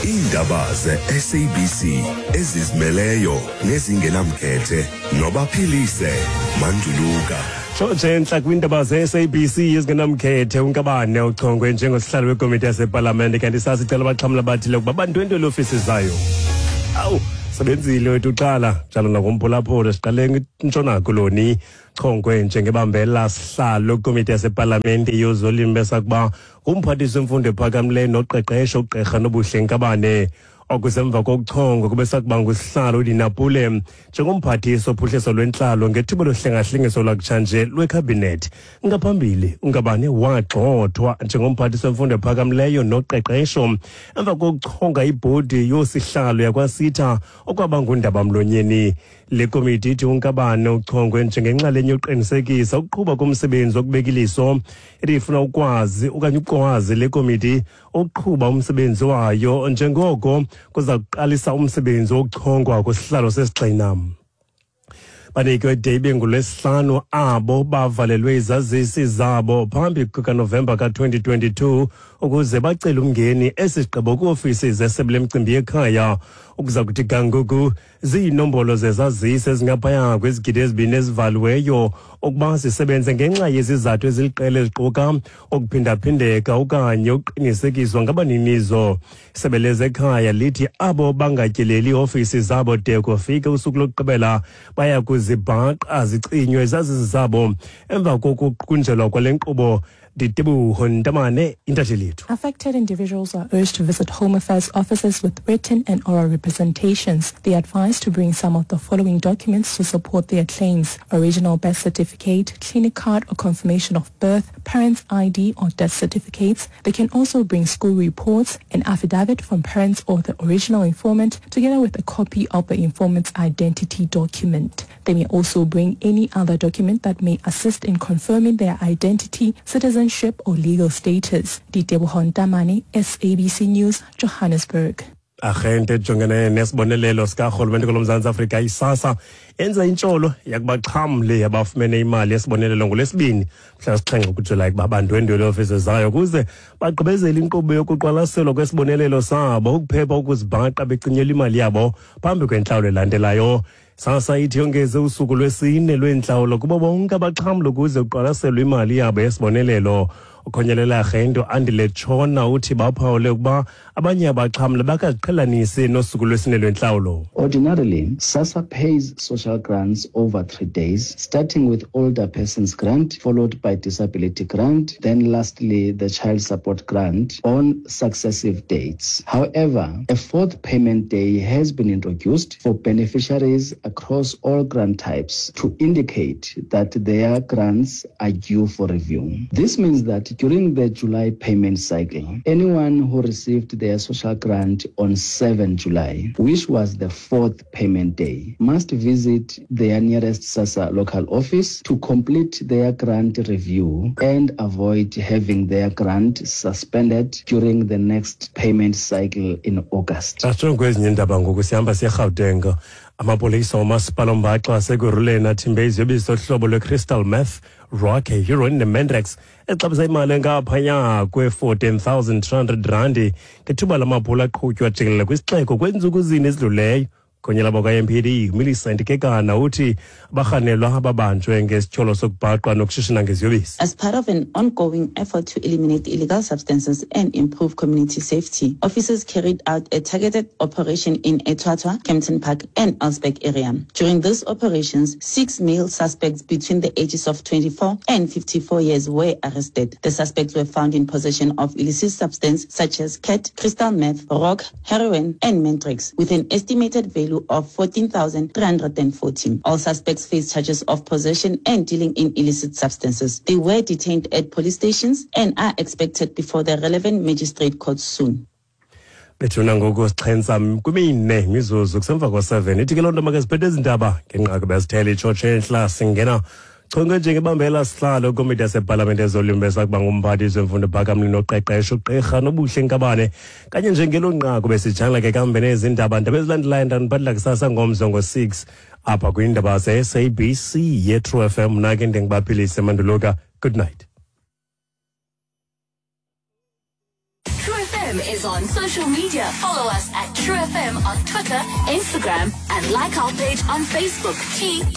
Iindaba ze-SABC ezizimeleyo nezingenamkhethe nobaphilise Manduluka. Tshotshe entla kwiindaba ze-SABC ezingenamkhethe uNkabane uchongwe njengosihlalo wekomiti yasepalamente kanti sasicela abaxhamla abathile ukuba bandwendwele ofisi zayo. Awu, sebenzile wethu uqala njalo nakumphulaphula siqale intshona koloni chongwe njengebambela sihlalo kwikomiti yasepalamente yozolimo besakuba ngumphathiswa wemfundo ephakamileyo noqeqesho ugqirha Nobuhle Nkabane. Okusemva kokuchongwa kube sakuba ngusihlalo uDinapule njengomphathiswa ophuhliso lwentlalo ngethuba lohlengahlengiso lwakutshanje lwekhabhinethi. Ngaphambili uNkabane wagxothwa njengomphathiswa wemfundo ephakamileyo noqeqesho emva kokuchonga ibhodi yoosihlalo yakwaSitha okwaba ngundabamlonyeni. Le komiti ithi uNkabane uchongwe njengenxalenye yokuqinisekisa ukuqhuba komsebenzi wokubeka iliso. Ithi ifuna ukwazi okanye ukwazi le komiti ukuqhuba umsebenzi wayo njengoko kuza kuqalisa umsebenzi wokuchongwa kwisihlalo sesigxina. Banikwe de ibe ngulwesihlanu abo bavalelwe izazisi zabo phambi kukaNovemba ka-2022 ukuze bacele umngeni esi sigqibo kwiofisi zesebe lemicimbi yekhaya. Ukuza kuthi ga ngoku ziinombolo zezazisi ezingaphaya kwezigidi ezibini ezivaliweyo ukuba zisebenze ngenxa yezizathu eziliqela eziquka ukuphindaphindeka okanye ukuqinisekiswa ngabaninizo. Isebe lezekhaya lithi abo bangatyeleli iofisi zabo de kufike usuku lokugqibela baya kuzibhaqa zicinywe izazisi zabo emva kokuqunjelwa kwale nkqubo. Diteboho Ntamane, intatheli yethu. Affected individuals are urged to visit Home Affairs offices with written and oral representations. They are advised to bring some of the following documents to support their claims: original birth certificate, clinic card or confirmation of birth, parents' ID or death certificates. They can also bring school reports, an affidavit from parents or the original informant, together with a copy of the informant's identity document. They may also bring any other document that may assist in confirming their identity, citizenship or legal status. Diteboho Ntamane, SABC News, Johannesburg. Arhente ejongene nesibonelelo sikarhulumente kulo Mzantsi Afrika iSASSA yenza intsholo yakubaxhamli abafumene imali yesibonelelo ngolwesibini mhla 7 kuJulayi ukuba bandwendwele iofisi zayo ukuze bagqibezele inkqubo yokuqwalaselwa kwesibonelelo sabo ukuphepha ukuzibhaqa becinyelwa imali yabo phambi kwentlawulo elandelayo. SASSA ithi yongeze usuku lwesine lweentlawulo kubo bonke abaxhamli ukuze kuqwalaselwe imali yabo yesibonelelo. Ukhonyelela arhente Andile Tshona uthi baphawule ukuba abanye abaxhamli bakaziqhelanisi nosuku lwesine lwentlawulo. Ordinarily, SASSA pays social grants over 3 days, starting with older persons grant, followed by disability grant, then lastly the child support grant on successive dates. However, a fourth payment day has been introduced for beneficiaries across all grant types to indicate that their grants are due for review. This means that during the July payment cycle, anyone who received their social grant on 7 July, which was the fourth payment day, must visit their nearest SASSA local office to complete their grant review and avoid having their grant suspended during the next payment cycle in August. Asitsho kwezinye iindaba ngoku sihamba siye eGauteng. Amapolisa omasipala ombaxa waseKurhuleni athimbe iziyobisi zohlobo lwe-crystal meth, rock, heroin nemandrax exabisa imali engaphaya kwe-14,300 randi ngethuba lamaphulo aqhutywa jikelele kwisixeko kweentsuku zine ezidluleyo. Khonyela bakwa-MPD Millicent Kekana uthi abarhanelwa ababanjwe ngesityholo sokubhaqwa nokushishina ngeziyobisi. As part of an ongoing effort to eliminate illegal substances and improve community safety, officers carried out a targeted operation in Etwatwa, Kempton Park and Elsburg area. During these operations, 6 male suspects between the ages of 24 and 54 years were arrested. The suspects were found in possession of illicit substance such as cat, crystal meth, rock, heroin and mandrax, with an estimated value of 14,314. All suspects face charges of possession and dealing in illicit substances. They were detained at police stations and are expected before the relevant magistrate court soon. Bethuna ngoku sixhensa kwimine imizuzu kusemva kwa-7. Ithi ke loo nto makaziphethe ezi ndaba ngenqaku bezithele itshotshe entla singena chonge njengebambela sihlalo komiti yasepalamente ezolimo besakuba ngumphathiswa wemfundo phakamli noqeqesho ugqirha Nobuhle Nkabane. Kanye njengelo nqaku besijangla ke kambe nezi ndaba ndaba ezilandelayo ndaniphathela kusasa ngomso ngo-6 apha kwiindaba ze-SABC ye-True FM. Mna ke ndingubaphilise Manduluka. Good night. True FM. is on social media. Follow us at True FM on Twitter, Instagram, and like our page on Facebook, t.r.u.fm.